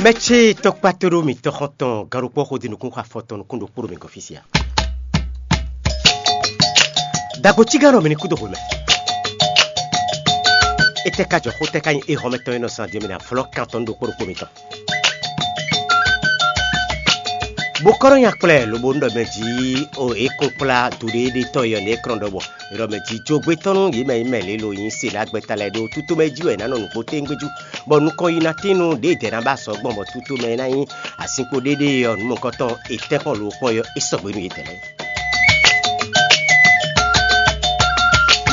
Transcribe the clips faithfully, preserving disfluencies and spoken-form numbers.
Mɛ ce tɔkpá tóɖó mǐtɔn xɔ́ntɔn gannukpɔ́ xódí nukún xɔ afɔtɔn nukún ɖokpó ɖo mǐ gɔ́n fí sia. Dagbo cígán ɖɔ mǐ ní kú dó hwemɛ. Étɛ́ ka jɔ xó tɛ́ ka nyí éhɔ́mɛtɔn e nɔ zán din ɔ́ mǐ ná vlɔ́ kan tɔn nú ɖokpó ɖokpó mitɔn. Bó kɔ́ nɔ nya kplɛ lobo nú ɖɔ mɛ jí o é kún kplá duɖéɖé tɔn e ɔ́ nɛ́ kplɔ́n ɖɔbɔ. Ɖɔ mɛ jí jogbe tɔn nú yě mɛ e mɛ lě lo nyí se ná gbɛta lɛ́ɛ ɖó tútomɛ jí wɛ è nǎ nɔ nǔgbó téngbéjú, bɔ nukɔn yi ná tín nú ɖěe dɛ̌ ná ba sɔ gbɔn bɔ tútomɛ e ná nyí azinkpo ɖéɖé ɔ́ nǔ mɔ̌kɔtɔn e tɛ́nkpɔ́n lo kpɔ́n ɔ́ é sɔgbe nú yědɛɛ lɛ́ɛ.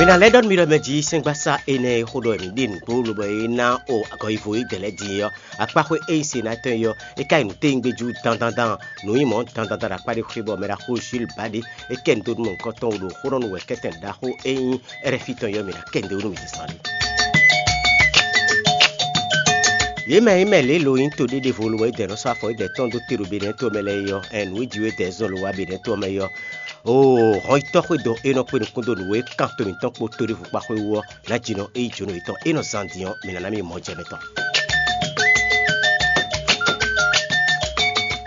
Mǐ ná lɛ́ ɖɔ nú mi ɖɔ mɛ jí sɛ́ngbasá énɛ́ e xó ɖɔ wɛ mǐ ɖe nǔgbó lobɔ é ná o agɔyivo yědɛɛ lɛ́ɛ din é ɔ́, akpáxwé e nyí Senatɔ́ é ɔ́, é ka yi nǔ téngbéjú dandandan, nǔ nyí mɔ̌ dandandan ɖo akpá ɖé xwé bɔ mɛ ɖaxó Jules Bade é kɛ nǔ dó nú mɔ̌hunkɔtɔn wú ɖo xó ɖɔ nú wɛ̌kɛ́tɛn ɖaxó e nyí Ɛrɛ́fi tɔn é ɔ́, mǐ ná kɛ nǔ dó wú nú mǐ zán ɖé. Yě mɛ e mɛ lě lo nyí to ɖé ɖěvo lo wɛ é dɛ nɔ sɔ́ afɔ é dɛ tɔn dó te ɖo Benɛ́ɛ to mɛ lɛ́ɛ é ɔ́, ɛn nǔ e ji wɛ é dɛ zɔn lo wá Benɛ́ɛ to mɛ é ɔ́, oo hɔn yi tɔ́ xwé dɔn é nɔ kpé nukún dó nǔ e kan to mǐtɔn kpó tóɖévú kpá xwé wú ɔ́, nǎ jinɔ é nyí jǒnɔ yětɔn é nɔ zán din ɔ́, mǐ ná ná mì mɔ jɛ mɛ tɔn.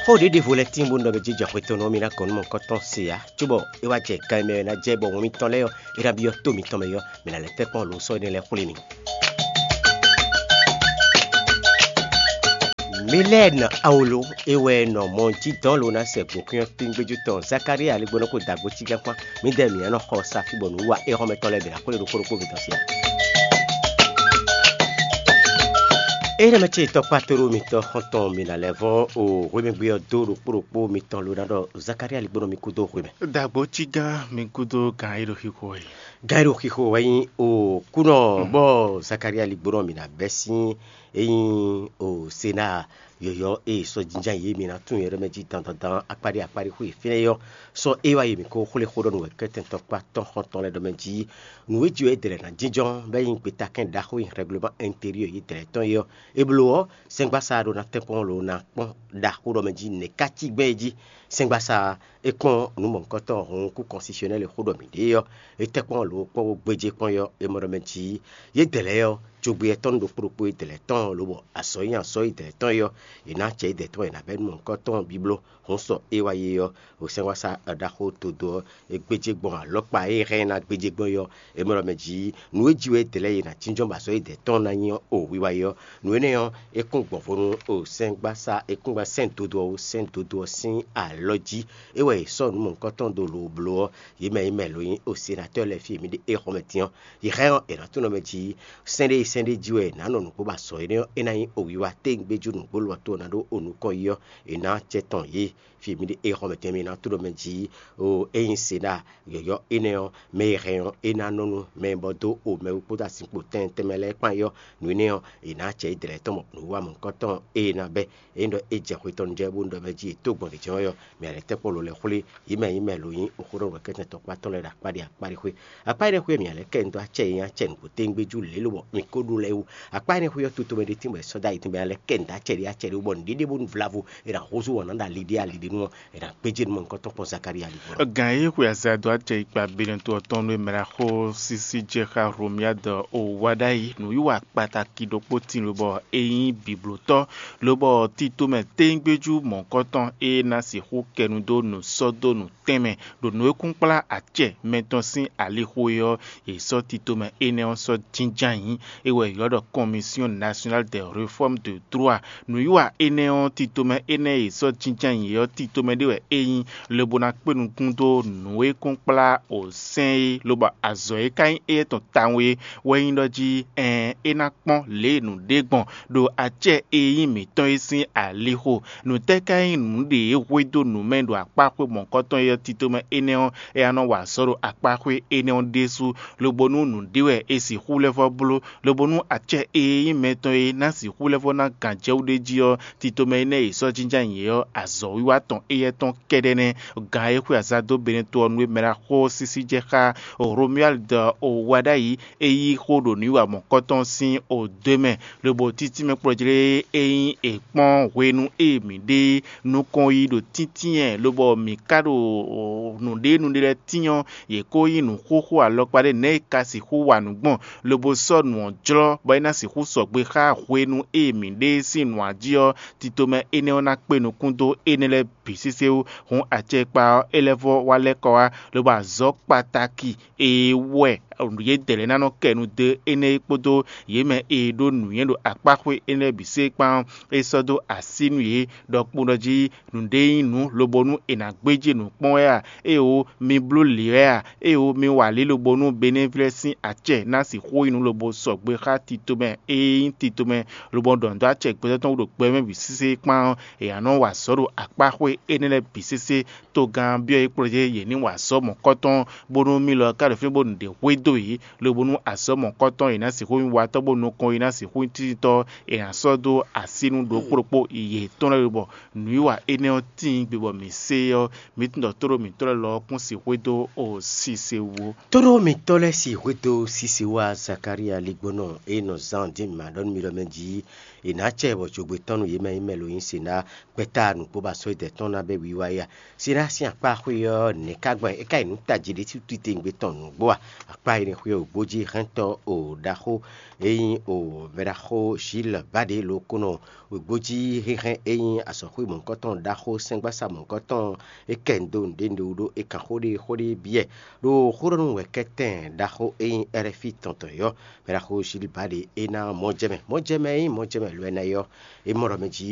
Xó ɖěɖěvo lɛ́ɛ tíin bónú ɖɔ mɛ jínjɔ́n xwetɔ́nnɔ ɔ́, mi ná gɔn nú mɔ̌hunkɔtɔn se ǎ, cóbɔ é wá jɛ gan e mɛ wɛ ná jɛ bɔ wɛn mitɔn lɛ́ɛ ɔ́, é ná byɔ́ tó mitɔn mɛ ɔ́, mǐ ná lɛ́ tɛ́nkpɔ́n lo sɔ́ énɛ́ lɛ́ɛ xwlé mi. Milɛ́ɛn Awolo é wɛ nɔ mɔ jí dɔn lo ná sɛ gbǒkwín ɔ́ tíngbéjú tɔn Zakalía aligbónɔ kó dagbo cígán kpán. Mǐdɛɛ mǐ nɔ xɔ sa fí bɔ nǔ wa éhɔ́mɛtɔn lɛ́ɛ bǐ ná xwlé ɖokpó ɖokpó mitɔn sín. Énɛ́ mɛ ce tɔkpá tóɖó mitɔn xɔ́ntɔn mǐ ná lɛ́ vɔ́ o hwemɛgbé ɔ́ dó ɖokpó ɖokpó mitɔn lo ná ɖɔ Zakalía aligbónɔ mi kú dó hwemɛ. Dagbo cígán mi kúdó gǎn e ɖo xixo wɛ. Gǎn e ɖo xixo wɛ nyí o kúnɔ bɔ Zakalía aligbónɔ mǐ ná bɛ́ sín é nyí o Senáa yɔ̌yɔ́ e sɔ́ jínján yě mǐ ná tunwun nyɛ ɖɔ mɛ jí dandandan akpáɖé akpáɖé xwé fínɛ́ ɔ́, sɔ́ é wá yi mǐ ko xwlé xó ɖɔ nú wɛ̌kɛ́tɛn tɔkpá tɔn xɔ́ntɔn lɛ́ɛ ɖɔ mɛ jí nǔ e jí wɛ é dɛ lɛ̌ ná jínjɔ́n bɔ é nyí gbetakɛ́n ɖaxó e nyí rɛgleman ɛnteriɔ yě dɛ lɛ̌ tɔn é ɔ́, é bló ɔ́, sɛ́ngbasá ɖó ná tɛ́nkpɔ́n lo ná kpɔ́n ɖaxó ɖɔ mɛ jí nɛ̌ ká cí gbɛn é jí. Sɛ́ngbasá é kpɔ́n nǔ mɔ̌hunkɔtɔn hɔn kú kɔnsisiyɔnɛ́li xó ɖɔ mǐ ɖe ɔ́, é tɛ́nkpɔ́n lo kpɔ́n bó gbéjé kpɔ́n é ɔ́, é mɔ ɖɔ mɛ jí yě dɛ lɛ́ɛ ɔ́, cogbe yɛtɔ́ nú ɖokpó ɖokpó yě dɛ lɛ́ɛ tɔn ɔ́, lobɔ azɔ̌ e nyí azɔ̌ yě dɛ lɛ́ɛ tɔn é ɔ́, è nǎ acɛ yě dɛ tɔn è nǎ bɛ́ nú mɔ̌hunkɔtɔn ɔ́ bíbló. Hǔn sɔ é wá yé ɔ́, o sɛ́ngbasá ɖaxó todo ɔ́, é gbéjé gbɔn alɔkpa e é hɛn ná gbéjé gbɔn é ɔ́, é mɔ ɖɔ mɛ jí nǔ e jí wɛ é dɛ lɛ́ɛ yě ná jínjɔ́n bɔ azɔ̌ yě dɛ tɔn ná nyí ɔ́, o wiwa é ɔ́. Nǔ énɛ́ ɔ́, é kún gbɔn vo nú o sɛ́ngbasá, é kún gbɛ́ sɛ́n dodó ɔ́ wú, sɛ́n dodó ɔ́ sín alɔ jí. É wɛ è sɔ́ nǔ mɔ̌hunkɔtɔn dó lo bló ɔ́, yě mɛ e mɛ lo nyí o senatɔ́ lɛ́ɛ fí e mǐ ɖe éhɔ́mɛ din ɔ́, yě hɛn ɔ́, è nǎ tunwun mɛ jí sɛ́n ɖé sɛ́n ɖé jí wɛ è nǎ nɔ nǔgbó ba azɔ̌ énɛ́ ɔ́, é ná nyí o wiwa téngbéjú nǔgbó lɔ tó ná ɖó o nukɔn yi ɔ́, è nǎ acɛ tɔn yě. Fí e mǐ ɖe éhɔ́mɛ din ɔ́, mǐ ná tunwun mɛ jí o é nyí Senáa yɔ̌yɔ́ énɛ́ ɔ́, mɛ e hɛn ɔ́, é ná nɔ nú mɛ e bɔ dó o mɛ e kpódó azinkpo tɛnmɛ tɛnmɛ lɛ́ɛ kpán é ɔ́, nǔ énɛ́ ɔ́, è nǎ acɛ yě dɛ lɛ́ɛ tɔn mɔ nǔwiwa mɔ̌hunkɔtɔn e è nǎ bɛ́. Ényí ɖɔ é jɛ xwe tɔn nu jɛ bó ɖɔ mɛ jí è tó gbɔn ɖě jɛ́n ɔ́, mǐ ná lɛ́ tɛ́nkpɔ́n lo lɛ́ɛ xwlé yě mɛ nyí mɛ lo nyí xó ɖɔ nǔ kɛntɛn tɔkpá tɔn lɛ́ɛ ɖo akpá ɖé akpá ɖé xwé. Akpá énɛ́ xwé ɔ́, mǐ ná lɛ́ kɛ nǔ dó acɛ e nyí acɛ nǔgbó téngbéjú lě lobɔ mi ko ɖó lɛ́ɛ wú. Akpá énɛ́ xwé ɔ́, to tomɛ ɖé tín bɔ è sɔ́ dó ayi tɛnbɛ ná lɛ́ kɛ nǔ dó acɛ ɖé acɛ ɖé wú bɔ nǔɖé ɖěbǔ nu vlavo è nǎ húzú wɔ̌n ná ɖo ali ɖé ali ɖé nu ɔ́, è nǎ gbéjé nú mɔ̌hunkɔtɔn kpɔ́n Zakalía ɖígbɔ́. Gǎn e xwe azǎn dó acɛ yi kpa Benɛto ɔ́ tɔn nú e mɛ ɖo axó sísí jɛ xá Hlomyád ɔ́ wá ɖ'ayǐ. Nǔwiwa kpataki ɖokpó tíin lobɔ é nyí bǐblótɔ́, lobɔ tito mɛ téngbéjú mɔ̌hunkɔtɔn e ná sixú kɛ nu dó nǔ sɔ́ dó nǔ tɛnmɛ ɖo nǔ e kún kplá acɛ mɛtɔn sín alixo é ɔ́, è sɔ́ tito mɛ énɛ́ ɔ́ sɔ́ jínjɔ́n ayǐ. É wɛ è ylɔ́ ɖɔ Commission Nationale des Réformes de Droit. Nǔwiwa énɛ́ ɔ́, tito mɛ énɛ́ e è sɔ́ jínjɔ́n ayǐ é ɔ́, tito mɛ ɖé wɛ é nyí, lobo ná kpé nukún dó nǔ e kún kplá o sɛ́n é, lobɔ azɔ̌ e ka nyí éyɛ́ tɔn tawun é wɛ nyí ɖɔ jí ɛɛn é ná kpɔ́n lě e nǔ ɖe gbɔn ɖo acɛ e nyí mǐtɔn é sín alixo. Nǔtɛ́ ka nyí nǔɖé e hwedó nǔ mɛ ɖo akpáxwé mɔ̌hunkɔtɔn e ɔ́, tito mɛ énɛ́ ɔ́, é ná nɔ wa azɔ̌ ɖo akpáxwé énɛ́ ɔ́ ɖésú, lobo nú nǔɖé wɛ è sixú lɛ́ vɔ́ bló, lobo nú acɛ e nyí mɛtɔn e ná sixú lɛ́ vɔ́ ná gǎnjɛwú ɖé jí ɔ́, tito mɛ énɛ́ e è sɔ́ jínjɔ́n ayǐ é ɔ́, azɔ̌wiwa tɔn éyɛ́ tɔn kɛ́ɖɛ́ nɛ́. Gǎn e xwe azǎn dó Benɛto ɔ́ nú é mɛ ná xo sísí jɛ xá Romuald wá ɖ'ayǐ, é yí xó ɖo nǔwiwa mɔ̌hunkɔtɔn sín odwe mɛ, lobo títí mɛ kplɔ́jlé e nyí è kpɔ́n hwenu e mǐ ɖe nukɔn yi ɖo tíntínyɛ, lobɔ mǐ ka ɖo nǔɖé nǔɖé lɛ́ɛ tín ɔ́, yě ko nyí nǔxoxo xó alɔkpa ɖé nɛ̌ è ka sixú wa nǔ gbɔn, lobo sɔ́ nǔ ɔ́ jlɔ́, bɔ é ná sixú sɔgbe xá hwenu e mǐ ɖe sín nǔ jí ɔ́, tito mɛ énɛ́ ɔ́ ná kpé nukún dó énɛ́ lɛ́ɛ bǐ sésé wú. Hǔn acɛkpa ɔ́, é lɛ́ vɔ́ wá lɛ́ kɔ wá, lobo azɔ̌ kpataki e wɛ yědɛɛ lɛ́ɛ ná nɔ kɛ nu dó énɛ́ é kpódó yě mɛ e ɖó nǔnywɛ́ ɖo akpáxwé énɛ́ bǐ sé kpán ɔ́, é sɔ́ dó así nú yě ɖɔkpó ɖɔ jí nǔɖé nyí nǔ lobo nú è nǎ gbéjé nǔ kpɔ́n wɛ a? Éeǒ, mi bló lǐ wɛ a? Éeǒ, mi wa lǐ lobo nú Benɛ́vlɛ́ sín acɛ ná sixú nyí nǔ lobo sɔgbe xá tito mɛ e nyí tito mɛ, lobo ɖɔ nǔ dó acɛ gbɛtɔ́ tɔn wú ɖo gbɛ mɛ bǐ sésé kpán ɔ́, è nǎ nɔ wa azɔ̌ ɖo akpáxwé énɛ́ lɛ́ɛ bǐ sésé. Togán byɔ́ yě kplɔ́ yě yě ní wa azɔ̌ mɔ̌kɔ́tɔn, bónú mì lɔ ka ɖo fínɛ́ bó ɖe xwé dó yě, lobo nú azɔ̌ mɔ̌kɔ́tɔn yě ná sixú nyí watɔ́, bó nukɔn yě ná sixú nyí títitɔ́, è nǎ sɔ́ dó así nú ɖokpó ɖokpó yětɔn lɛ́ɛ bɔ nǔwiwa énɛ́ ɔ́ tíin gbe bɔ mǐ se ɔ́, mǐ tunwun ɖɔ tóɖó mǐtɔn lɛ́ɛ lɔ ɔ́ kún sixú dó o sise wú ó. Tóɖó mitɔ́ lɛ́ɛ si hwedó sise wá Zakalía ligbónɔ e nɔ zán dín mǐ ma ɖɔ nú mi ɖɔ mɛ jí è nǎ acɛ bɔ jogbe tɔn nú yě mɛ nyí mɛ lo nyí se ná gbɛ́ta nǔgbó ba sɔ́ idɛ tɔn ná bɛ́ wiwa é a? Sirá sín akpá xwé ɔ́, nɛ̌ ka gbɔn é ka yi nǔ tají ɖé sú titewungbe tɔn nǔgbó a? Akpá énɛ́ xwé ɔ́ gbó jí hɛntɔ́ o ɖaxó e nyí o mɛɖaxó Ʒílbáɖě lokúnɔ wěgbójí hɛnhɛn e nyí azɔ̌xwé mɔ̌hunkɔtɔn ɖaxó sɛ́ngbásá mɔ̌hunkɔtɔn é kɛ ndo nǔɖé nǔɖé wú ɖó é kan xó ɖé xó ɖé byɔ́ ɖo xóɖɔnú wɛ̌kɛ́tɛn ɖaxó e nyí Ɛrɛ́fí tɔn tɔn yɔ́. Mɛɖaxó Ʒílbáɖě é ná mɔjɛmɛ mɔjɛmɛ e nyí mɔjɛmɛ lwɛ ná é ɔ́, é mɔ ɖɔ mɛ jí